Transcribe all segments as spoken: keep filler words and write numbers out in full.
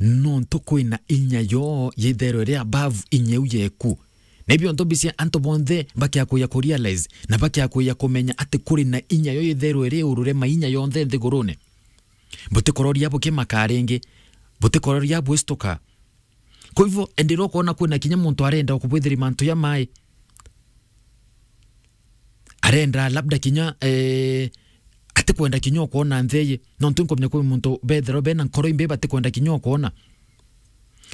Nontu kwina inya yo yitherwe iri above inya iu yeku. Na ibio ntu bicia antu bonthe bakiakuya ku realize, na bakiakuya kumenya ati kuri na inya yo yitherwe iri urure mainya yonthe nthigurune. Butikororia bukimaka ringi, butikororia bwistuka. Kwa hivyo, enderea ukoona kwina kinya muntu arenda kubwithiria mantu ya mai. Arenda labda kinya, eh, atikwenda kinya ukoona ntheye. Nontu nkumenya kwi muntu betherwa bena nkoro imbi batikwenda kinya ukoona.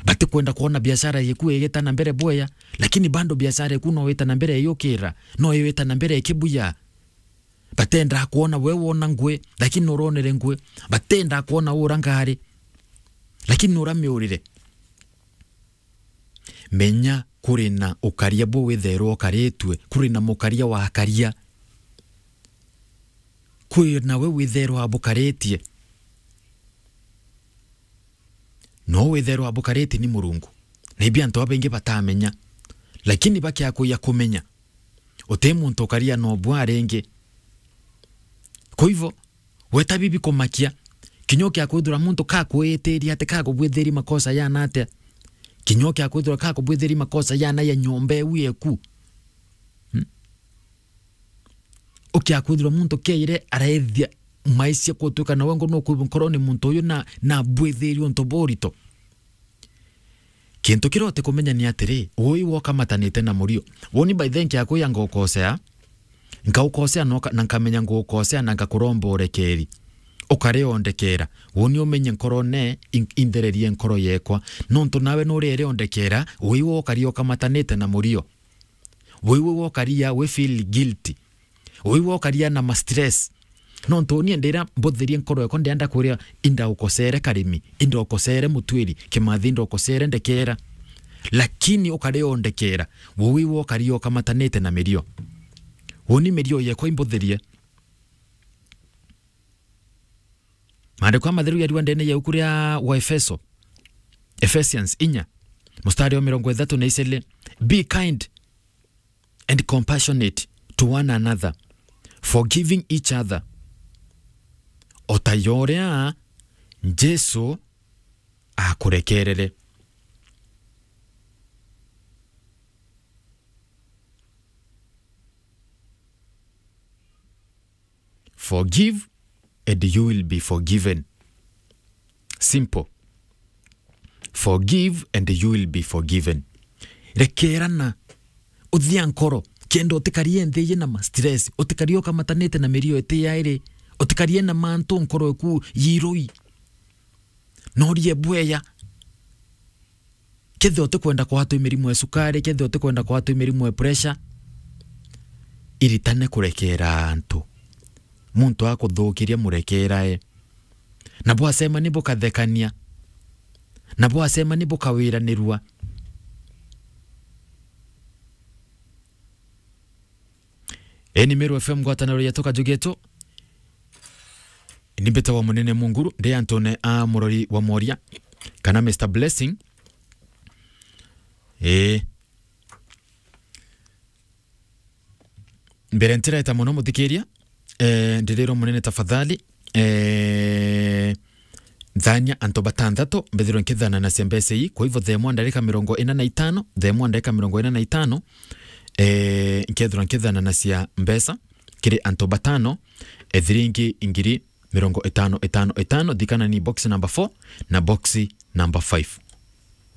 Batikwenda kuona biashara yeku igita na mbere bwea, lakini bado biashara yeku no ita na mbere yukira, no ita na mbere ikibuya. Batendaa kwona we wona ngui, lakini nuronere ngui. Batendaa kwona ura ngari, lakini nuramiurire. Menya kuri na ukaria bu witherwa ukaritue, kuri na mukaria wa akaria. Kuri na we witherwa abukaritie. No witherwa abukaritie ni Murungu. Na ibi antu babaingi batamenya. Lakini bakiakuya kumenya, uti muntu ukaria na ubwa ringi. Kwa hivyo, weta bibi kumakia, kinya ukia kwithirwa muntu kakwitiria ati kakubwithiria makosa yana atia? Kinya ukia kwithirwa kakubwithiria makosa yana ya nyomba iu yeku? Hmm? Ukia kwithirwa muntu kiaire araethia maisha kutwika na wengo no kwibwa nkoroni muntu uyu na, na bwithiria untu burito. Kintu kiria utikumenya ni atiri, ui wokamatanite na murio. Woni by then kiakuya ngukosea, nkaukosea noka-, na nkamenya ngukosea na nkakuromba urekeri. Ukare ondekera. Woni umenye nkorone in-, inthererie nkoro yekwa. Nontu nawe nuri ere ondekera, ui wokari okamatanite na murio. Ui wokari ya we feel guilty. Ui wokaria na ma stress. Nontu uni ndira mbuthirie nkoro yakwa ndienda kuria inda ukosere karimi, inda ukosere mutwiri, kimathi inda ukosere ndekera. Lakini ukari ondekera, ui wokaria ukamatanite na mirio. Uni mirio yekwa imbuthirie. Maandiko ya matheru yariwa ndene ya ibuku ria Waefeso, Ephesians inya, mustari wa mirongo ithatu na icele, "Be kind and compassionate to one another, forgiving each other, o ta uria Jesu akurekerere." Forgive and you will be forgiven. Simple. Forgive and you will be forgiven. Rekerana. Uthia nkoro. Kenda utikarie nthi iji na ma stress. Utikarie ukamatanite na mirio iti yairi. Utikarie na mantu nkoro eku yirui. Norie bweya. Kethira utikwenda kwatwa i mirimu ya sukari, kethira utikwenda kwatwa i mirimu ya pressure, iritane kurekera antu. Muntu akuthukiria murekerae. Na bwacemania bukathekania. Na bwacemania bukawiranirua. Eni Meru F M ngwataniro yetu kajugetu. Ni mbitagwa Munene Munguru, ndi antune a murori wa mworia, kana Mister Blessing. Ii. Mbere ntireta muno muthikiria, eh, ndirirwa munene tafadhali, eh, thania antu batanthatu mbithirwe nkithananacia mbeca ii. Kwa hivyo, thaa imwe ndagika mirongo ina na itano, thaa imwe ndagika mirongo ina na itano, eh, nkethirwa nkithananacia mbeca kiri antu batano, ethiringi ngiri mirongo itano, itano, itano. Thikana ni box number four na box number five.